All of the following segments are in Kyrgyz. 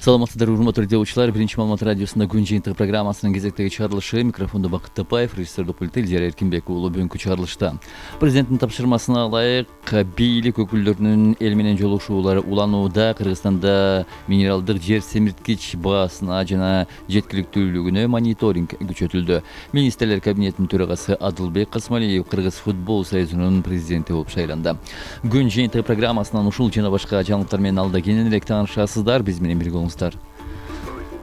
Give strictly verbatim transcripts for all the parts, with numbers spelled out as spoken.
Саламатсыздарбы, урматтуу радиочулар. Биринчи маалымат радиосунда күн жыйынтыгы программасынын кезектеги чыгарылышы. Микрофондо Бакыт Тапаев, режиссердик пультта Илдияр Эркинбек уулу. Бүгүнкү чыгарылышта президенттин тапшырмасына ылайык бийлик өкүлдөрүнүн эл менен жолугушуулары уланууда. Кыргызстанда минералдык жер семирткич баасына жана жеткиликтүүлүгүнө мониторинг күчөтүлдү. Министрлер кабинетинин төрагасы Адылбек Касмалиев Кыргыз футбол союзунун президенти болуп шайланды. Күн жыйынтыгы программасынан ушул жана башка жаңылыктар менен алда кененирээк таанышасыздар. Биз менен бирге болуңуздар.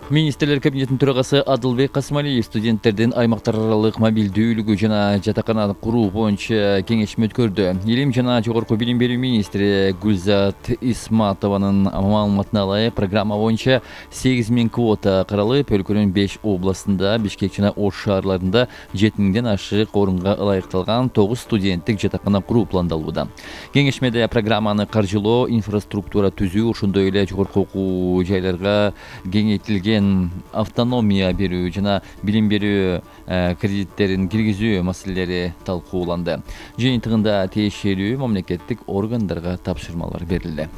Министрлер кабинетинин төрагасы Адылбек Касмалиев студенттердин аймактар аралык мобилдүүлүгү жана жатакана куруу боюнча кеңешме өткөрдү. Илим жана жогорку билим берүү министри Гүлзат Исматованын маалыматына ылайык, программа боюнча сегиз миң квота каралып, өлкөнүн беш областында, Бишкек жана Ош шаарларында жети миңден ашык орунга ылайыкталган тогуз студенттик жатакана куруу пландалууда. Кеңешмеде программаны каржылоо, инфраструктура түзүү, ошондой эле жогорку окуу жайларга кеңейтилген автономия берүү жана билим берүү кредиттерин киргизүү маселелери талкууланды. Жыйынтыгында тиешелүү мамлекеттик органдарга тапшырмалар берилди.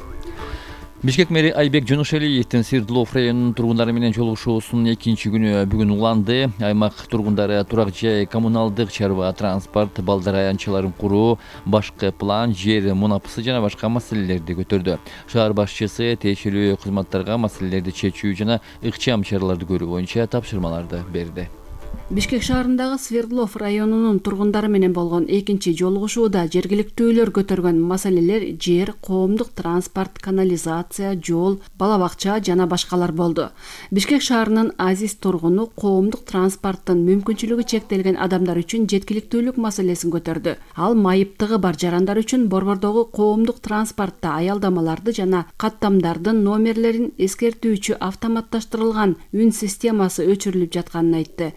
Бишкек мэри Айбек Жоношалиевдин Свердлов районунун тургундары менен жолугушуусунун экинчи күнү бүгүн уланды. Аймак тургундары турак жай, коммуналдык чарба, транспорт, балдар аянтчаларын куруу, башкы план, жер мунапысы жана башка маселелерди көтөрдү. Шаар башчысы тиешелүү кызматтарга маселелерди чечүү жана ыкчам чараларды көрүү боюнча тапшырмаларды берди. Бишкек шаарындагы Свердлов районунун тургундары менен болгон экинчи жолугушууда жергиликтүүлөр көтөргөн маселелер жер, коомдук транспорт, канализация, жол, бала бакча жана башкалар болду. Бишкек шаарынын азиз тургуну коомдук транспорттун мүмкүнчүлүгү чектелген адамдар үчүн жеткиликтүүлүк маселесин көтөрдү. Ал майыптыгы бар жарандар үчүн борбордогу коомдук транспортто аялдамаларды жана каттамдардын номерлерин эскертүүчү автоматташтырылган үн системасы өчүрүлүп жатканын айтты.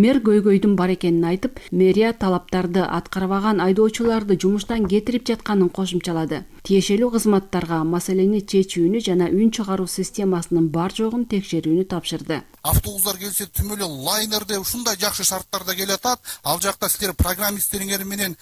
Мэр көйгөйдүн бар экенин айтып, мэрия талаптарды аткарбаган айдоочуларды жумуштан кетирип жатканын кошумчалады. Тиешелүү кызматтарга маселени чечүүнү жана үн чыгаруу системасынын бар жогун текшерүүнү тапшырды. Автобустар келсе түмөлө лайнерде ушундай жакшы шарттарда келатат. Ал жакта силер программисттериңер менен